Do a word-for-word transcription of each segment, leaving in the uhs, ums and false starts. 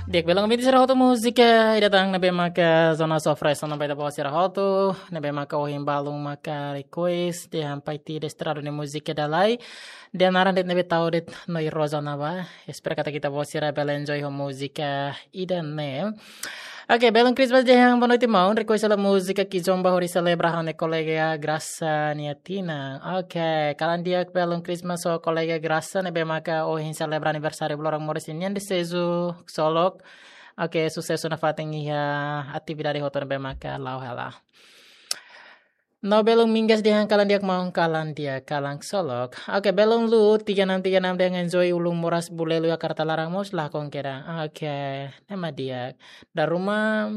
Di'ak, belun ouvinte sira hotu, múzika ida tan ne'ebé maka Jonas oferese ona ba ita-boot sira hotu, ne'ebé maka ohin balun maka request dehan Paiti Desterrado nia múzika Dalai. Dehan naran de'it ne'ebé tau de'it Noite Rosa ona ba. Espera katak ita-boot sira bele enjoy ho múzika ida-ne'e. Oke, belun Christmas dehan boa noite maun, request hela múzika Kizomba hodi selebra ha'u-nia kolega Graça nia tinan. Oke, kalan di'ak belun Christmas ho kolega Graça ne'ebé maka ohin selebra aniversáriu ba loron moris ninian, deseju ksolok. Oke, susesu nafatin iha atividade hotu ne'ebé maka la'o hela. No belun Mingas dehan kalan di'ak maun, kalan di'ak, kalan ksolok. Oke, belun Lu tiga enam tiga enam dehan enjoy ulun moras Bulelui iha Karta Laran mós lakon kedan. Oke, ne'e mak di'ak. Dala ruma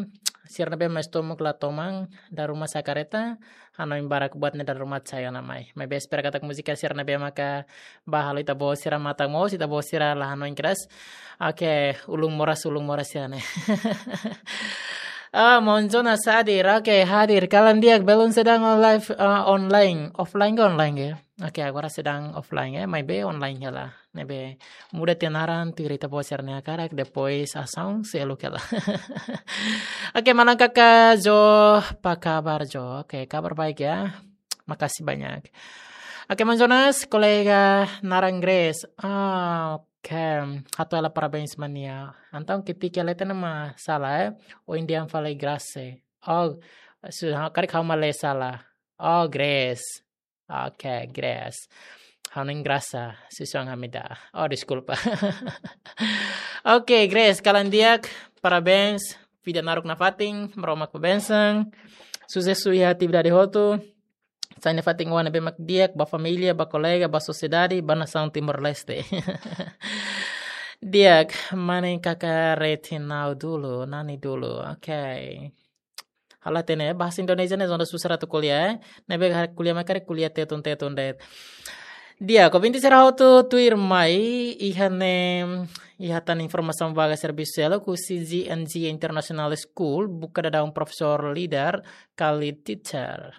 sira ne'ebé maka estómagu la toman, dala ruma sa'e karreta, hanoin barak buat ne'e dala ruma sai ona mai. Maibé espera katak múzika sira ne'ebé maka bá halo ita-boot sira matan moos, ita-boot sira la hanoin kedas. Oke, ulun moras, ulun moras ya ne'e. Ah, maun Jonas hadir. Oke, hadir. Kalan di'ak, belun sedang on live, ah, online. Offline ka online ya? Oke, agora sedang offline ya, maibé online hela. Ne'ebé muda tiha naran, tuir ita-boot sira-nia hakarak, depois asaun seluk hela. Oke, maun Kaka Jo, apa kabar Jo? Oke, kabar baik ya. Makasih banyak. Oke, maun Jonas, kolega naran Grace. Ah, oke. Hato'o hela parabéns ba nia. Entaun ketik hela tiha nama sala, eh. Ohin dehan fali Grace. Oh, su-, ha-, karik ha'u mak lee sala. Oh, Grace. Oke, Grace. Hanoin Graça, susar ami ida. Oh, deskulpa. Oke, Grace, kalan di'ak, parabéns. Vida naruk nafatin, Maromak fó bensaun. Susesu iha atividade hotu. Sai nafatin oan ne'ebé mak di'ak, ba família, ba kolega, ba sosiedade, ba nasaun Timor-Leste. Di'ak, mane Kaka Retinau dulu, Nani dulu. Oke. Halo hatene, bahasa Indonesia ne'e zona susar atu ko'alia, eh. Ne'ebé hakarak ko'alia mak hakarak ko'alia tetun-tetun de'it. Di'ak, ouvinte sira hotu, tuirmai, iha ne'e, iha tan informasaun vaga servisu seluk husi G N G International School, buka daudaun profesór líder, ka lead teacher.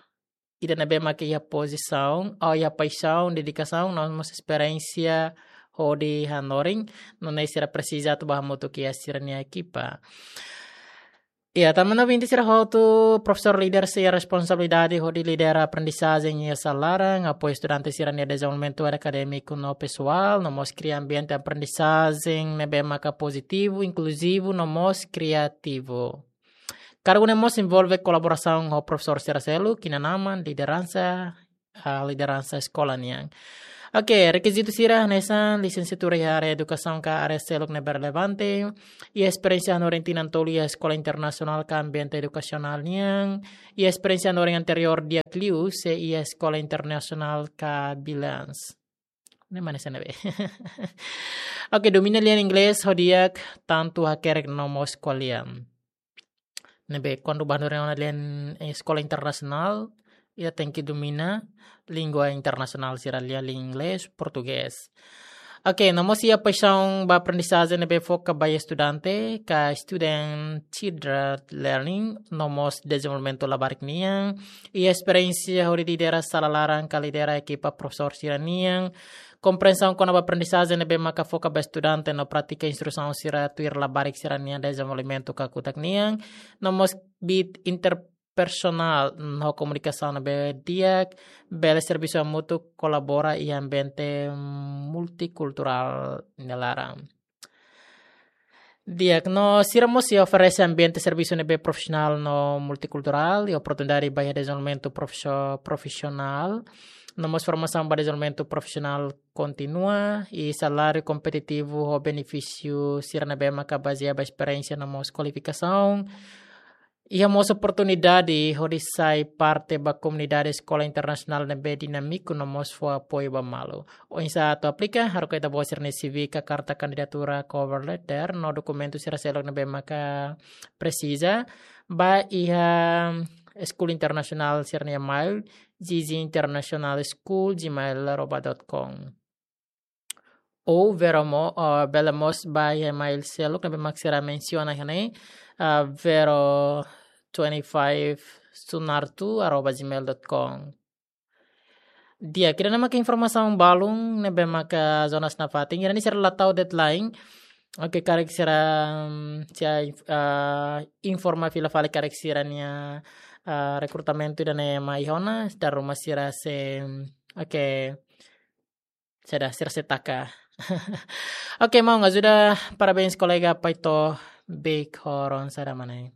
Ida ne'ebé mak iha pozisaun, oh, iha paixaun, dedikasaun, no mós esperiénsia hodi hanorin, nune'e sira presiza atu bá hamutuk iha sira-nia ekipa. Iha, tanba ouvinte sira hotu, profesór líder sei iha responsabilidade hodi lidera aprendizajen iha sala laran, apoia estudante sira-nia dezenvolvimentu akadémiku no pesoál, no mós kria ambiente aprendizajen ne'ebé maka pozitivu, inkluzivu, no mós kriativu. Kargu ne'e mós envolve kolaborasaun ho profesór sira seluk, inan-aman, lideransa, ah, lideransa eskola nian. Oke, rekizitu sira hanesan lisensiatura iha área edukasaun ka área seluk ne'ebé relevante, iha esperiénsia hanorin tinan tolu iha eskola internasionál ka ambiente edukasionál nian, iha esperiénsia hanorin anteriór di'ak liu sei iha eskola internasionál ka bilíngue. Ne'e mak hanesan ne'ebé. Oke, domina lian inglés ho di'ak, tantu hakerek no mós ko'alia. Ne'ebé kuandu bá hanorin ona lian, eh, eskola internasionál, ita tenke domina língua internasionál sira, lian inglés, portugés. Oke, no mós iha paixaun ba aprendizajen ne'ebé foka ba estudante, ka student-centered learning, no mós dezenvolvimentu labarik nian, iha esperiénsia hodi lidera sala laran ka lidera ekipa profesór sira nian, komprensaun kona-ba aprendizajen ne'ebé maka foka ba estudante no prátika instrusaun sira tuir labarik sira-nia dezenvolvimentu kakutak nian, no mós kbiit interpersonál no komunikasaun ne'ebé di'ak, bele servisu hamutuk, kolabora iha ambiente multikulturál nia laran. Di'ak, no sira mós sei oferese ambiente servisu ne'ebé profisionál no multikulturál, i oportunidade ba iha dezenvolvimentu profisio-, profisionál, no mós formasaun ba dezenvolvimentu profisionál kontínua, i saláriu kompetitivu ho benefísiu sira ne'ebé maka bazeia ba esperiénsia no mós kualifikasaun. Iha mós oportunidade hodi sai parte ba komunidade eskola internasionál ne'ebé dinámiku no mós fó apoiu ba malu. Oinsá atu aplika? Haruka ita-boot sira-nia C V ka karta kandidatura, cover letter, no dokumentu sira seluk ne'ebé maka presiza, ba iha eskola internasionál sira-nia email, G G international school gmail arroba dot com. Ou Vero mo-, ah, bele mós ba iha email seluk ne'ebé mak sira mensiona iha ne'e, ah, vero twenty-five sunartu arroba gmail dot com. Di'ak, ida-ne'e maka informasaun balun ne'ebé maka Jonas nafatin. Ida-ne'e sira la tau deadline. Oke, karik sira, mm, sira, ah, informa fila fali karik sira-nia, ah, rekrutamentu ida-ne'e mai ona, dala ruma sira sei, mm, oke. Sira, sira sei taka. Oke, maun Azuda, parabéns kolega Paito Big Horon sada manai.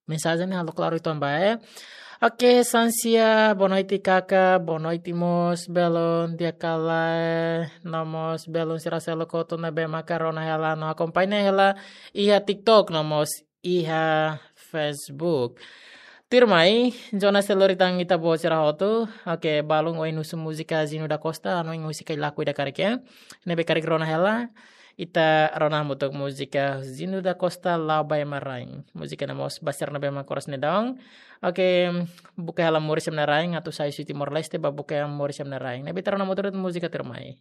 Mensajen halo klaru uitoan ba, eh. Oke, Sansia, boa noite, kaka, boa noite mós, belun, di'ak kala, no mós, belun sira seluk hotu ne'ebé maka rona hela, no akompaña hela, iha TikTok, no mós, iha Facebook. Tuirmai, Jonas sei lori tan ita-boot sira hotu. Oke, balun ohin husu múzika Zino da Costa, anu ohin husi Kailaku ida karik, eh. Ne'ebé karik rona hela. Ita rona hamutuk múzika Zino da Costa La'o ba Ema Rain. Múzika ne'e mós ba sira ne'ebé mak oras ne'e daudaun. Oke, buka hela moris ema nia rain, atu sai husi Timor-Leste, ba buka moris ema nia rain. Ne'ebé ita rona hamutuk de'it múzika tuirmai.